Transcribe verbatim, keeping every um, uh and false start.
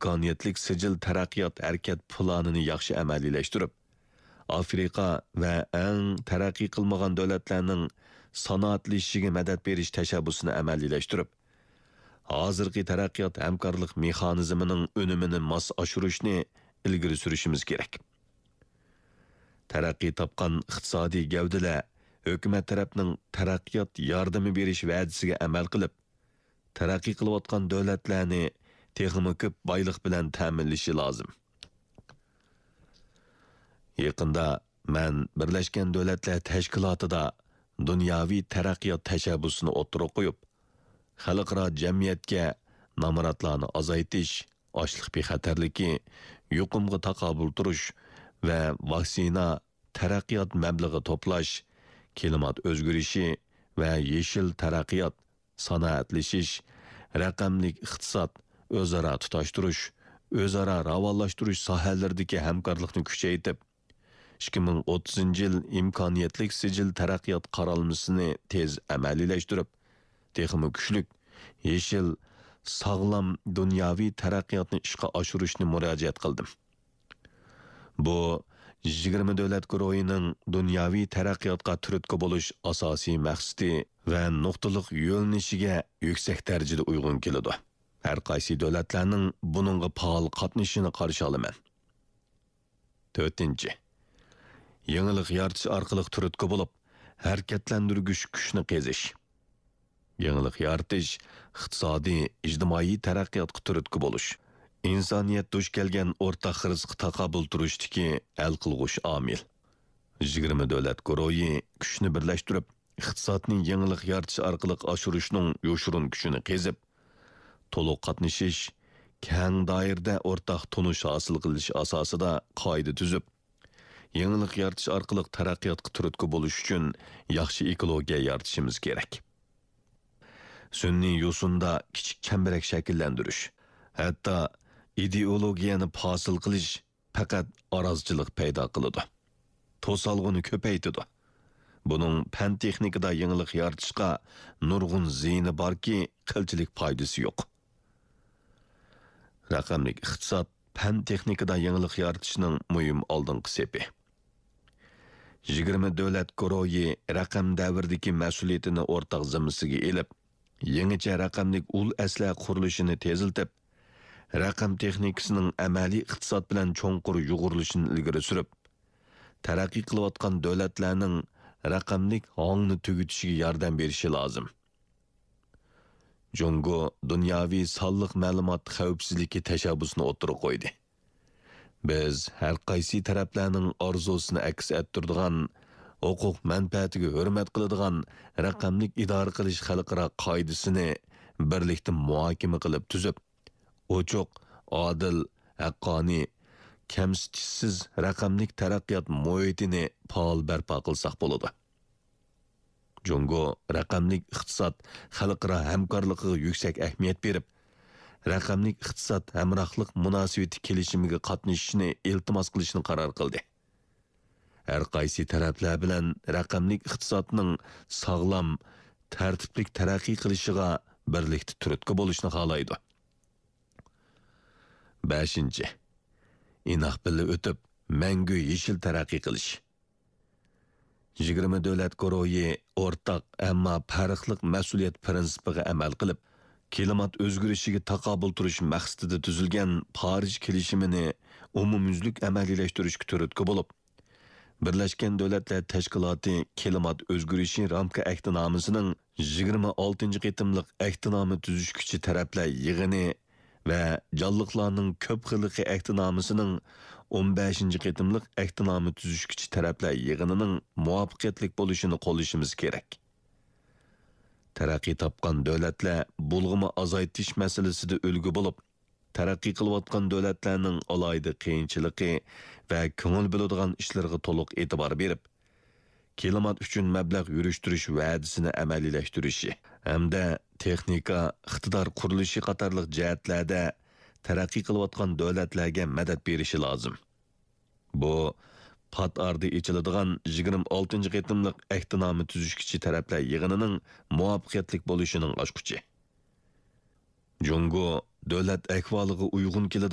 ئىمكانىيەتلىك سىجىل تەرەققىيات ھەرىكەت پىلانىنى ياخشى ئەمەلىيلەشتۈرۈپ، ئافرىقا ۋە ئەڭ تەرەققىي قىلمىغان دۆلەتلەرنىڭ سانائەتلىشىشىگە مەدەت بېرىش تەشەببۇسىنى ئەمەلىيلەشتۈرۈپ، ھازىرقى تەرەققىيات ھەمكارلىق مېخانىزمىنىڭ ئۈنۈمىنى ماس ئاشۇرۇشنى ئىلگىرى سۈرۈشىمىز كېرەك. تەرەققىي تاپقان ئىقتىسادىي گەۋدىلەر ھۆكۈمەت تەرەپنىڭ تەرەققىيات ياردىمى بېرىش ۋەدىسىگە ئەمەل قىلىپ، تەرەققىي قىلىۋاتقان دۆلەتلەرنى تېخىمۇ كۆپ بايلىق بىلەن تەمىنلىشى لازىم. يېقىندا مەن بىرلەشكەن دۆلەتلەر تەشكىلاتىدا دۇنياۋى تەرەققىيات تەشەببۇسىنى ئوتتۇرىغا قويۇپ، خەلقئارا جەمئىيەتكە نامراتلارنى ئازايتىش، ئاشلىق بىخەتەرلىكى، يۇقۇمغا تاقابىل تۇرۇش ۋە ۋاكسىنا، تەرەققىيات مەبلىغى توپلاش، كىلىمات ئۆزگىرىشى ۋە يېشىل تەرەققىيات، سانائەتلىشىش، رەقەملىك ئىقتىساد، ئۆزئارا تۇتاشتۇرۇش، ئۆزئارا راۋانلاشتۇرۇش ساھەلىرىدىكى ھەمكارلىقنى كۈچەيتىپ، ئىككى مىڭ ئوتتۇزىنچى يىل ئىمكانىيەتلىك سىجىل تەرەققىيات قارالمىسىنى تېز ئەمەلىيلەشتۈرۈپ، تېخىمۇ كۈچلۈك، يېشىل، ساغلام دۇنياۋى تەرەققىياتنى ئىشقا ئاشۇرۇشنى مۇراجىئەت قىلدىم. بۇ يىگىرمە دۆلەت گۇرۇھىنىڭ دۇنياۋى تەرەققىياتقا تۈرتكە بولۇش ئاساسىي مەقسىتى ۋە نۇقتىلىق يۆنىلىشىگە يۈكسەك دەرىجىدە ئۇيغۇن كېلىدۇ. ھەر قايسى دۆلەتلەرنىڭ بۇنىڭغا پائال قاتنىشىشىنى قارشى ئالىمەن. تۆتىنچى، يېڭىلىق يارىتىش ئارقىلىق تۈرتكە بولۇپ، ھەرىكەتلەندۈرگۈچ كۈچنى قېزىش. يېڭىلىق يارىتىش، ئىقتىسادىي، ئىجتىمائىي تەرەققىياتقا تۈرتكە بولۇش، ئىنسانىيەت دۇچ كەلگەن ئورتاق خىرىسقا تاقابىل تۇرۇشتىكى ھەل قىلغۇچ ئامىل. يىگىرمە دۆلەت گۇرۇھى كۈچنى بىرلەشتۈرۈپ، ئىقتىسادنى يېڭىلىق يارىتىش ئارقىلىق ئاشۇرۇشنىڭ يوشۇرۇن كۈچىنى قېزىپ، تولۇق قاتنىشىش، كەڭ دائىرىدە ئورتاق تونۇش ھاسىل قىلىش ئاساسىدا قائىدە تۈزۈپ، يېڭىلىق يارىتىش ئارقىلىق تەرەققىياتقا تۈرتكە بولۇش ئۈچۈن ياخشى ئېكولوگىيە يارىتىشىمىز كېرەك. سۈنئىي يوسۇندا كىچىك چەمبىرەك شەكىللەندۈرۈش، ھەتتا ئىدېئولوگىيەنى پاسىل قىلىش پەقەت ئارازچىلىق پەيدا قىلىدۇ، توسالغۇنى كۆپەيتىدۇ. بۇنىڭ پەن-تېخنىكىدا يېڭىلىق يارىتىشقا نۇرغۇن زىيىنى باركى، قىلچىلىك پايدىسى يوق. رەقەملىك ئىقتىساد پەن-تېخنىكىدا يېڭىلىق يارىتىشنىڭ مۇھىم ئالدىنقى سېپى. يىگىرمە دۆلەت گۇرۇھى رەقەم دەۋرىدىكى مەسئۇلىيىتىنى ئورتاق زىممىسىگە ئېلىپ، يېڭىچە رەقەملىك ئۇل ئەسلىھە قۇرۇلۇشىنى تېزلىتىپ، رەقەم تېخنىكىسىنىڭ ئەمەلىي ئىقتىساد بىلەن چوڭقۇر يۇغۇرۇلۇشىنى ئىلگىرى سۈرۈپ، تەرەققىي قىلىۋاتقان دۆلەتلەرنىڭ رەقەملىك ھاڭنى تۈگىتىشىگە ياردەم بېرىشى لازىم. جۇڭگو دۇنياۋى سانلىق مەلۇمات خەۋپسىزلىكى تەشەببۇسىنى ئوتتۇرىغا قويدى. بىز ھەر قايسى تەرەپلەرنىڭ ئارزۇسىنى ئەكس ئەتتۈرىدىغان، ھوقۇق مەنپەئەتىگە ھۆرمەت قىلىدىغان رەقەملىك ئىدارە قىلىش خەلقئارا قائىدىسىنى بىرلىكتە مۇھاكىمە قىلىپ تۈزۈپ، ئوچۇق، ئادىل، ھەققانىي، كەمسىتىشسىز رەقەملىك تەرەققىيات مۇھىتىنى پائال بەرپا قىلساق بولىدۇ. جۇڭگو رەقەملىك ئىقتىساد خەلقئارا ھەمكارلىقىغا يۈكسەك ئەھمىيەت بېرىپ، رەقەملىك ئىقتىساد ھەمراھلىق مۇناسىۋىتى كېلىشىمىگە قاتنىشىشنى ئىلتىماس قىلىشنى قارار قىلدى. ھەر قايسى تەرەپلەر بىلەن رەقەملىك ئىقتىسادنىڭ ساغلام، تەرتىپلىك تەرەققىي قىلىشىغا بىرلىكتە تۈرتكە بولۇشنى خالايدۇ. بەشىنچى، ئىناق بىللە ئۆتۈپ، مەڭگۈ يېشىل تەرەققىي قىلىش. يىگىرمە دۆلەت گۇرۇھى ئورتاق، ئەمما پەرقلىق مەسئۇلىيەت پىرىنسىپىغا ئەمەل قىلىپ، كىلىمات ئۆزگىرىشىگە تاقابىل تۇرۇش مەقسىتىدە تۈزۈلگەن پارىژ كېلىشىمىنى ئومۇميۈزلۈك ئەمەلىيلەشتۈرۈشكە تۈرتكە بولۇپ، بىرلەشكەن دۆلەتلەر تەشكىلاتى كىلىمات ئۆزگىرىشى رامكا ئەھدىنامىسىنىڭ يىگىرمە ئالتىنچى قېتىملىق ئەھدىنامە تۈزۈشكۈچى تەرەپلەر يىغىنى ۋە جانلىقلارنىڭ كۆپ خىللىقى ئەھدىنامىسىنىڭ ئون بەشىنچى قېتىملىق ئەھدىنامە تۈزۈشكۈچى تەرەپلەر يىغىنىنىڭ مۇۋەپپەقىيەتلىك بولۇشىنى قوللىشىمىز كېرەك. تەرەققىي تاپقان دۆلەتلەر بۇلغىما ئازايتىش مەسىلىسىدە ئۈلگە بولۇپ، تەرەققىي قىلىۋاتقان دۆلەتلەرنىڭ ئالاھىدە قىيىنچىلىقى ۋە كۆڭۈل بۆلىدىغان ئىشلىرىغا تولۇق ئېتىبار بېرىپ، كىلىمات ئۈچۈن مەبلەغ يۈرۈشتۈرۈش ۋەدىسىنى ئەمەلىيلەشتۈرۈشى ھەمدە تېخنىكا، ئىقتىدار قۇرۇلۇشى قاتارلىق جەھەتلەردە تەرەققىي قىلىۋاتقان دۆلەتلەرگە مەدەت بېرىشى لازىم. بۇ پات ئارىدا ئېچىلىدىغان يىگىرمە ئالتىنچى قېتىملىق ئەھدىنامە تۈزۈشكۈچى تەرەپلەر يىغىنىنىڭ مۇۋەپپەقىيەتلىك بولۇشىنىڭ ئاچقۇچى. جۇڭگو دۆلەت ئەھۋالىغا ئۇيغۇن كېلىدىغان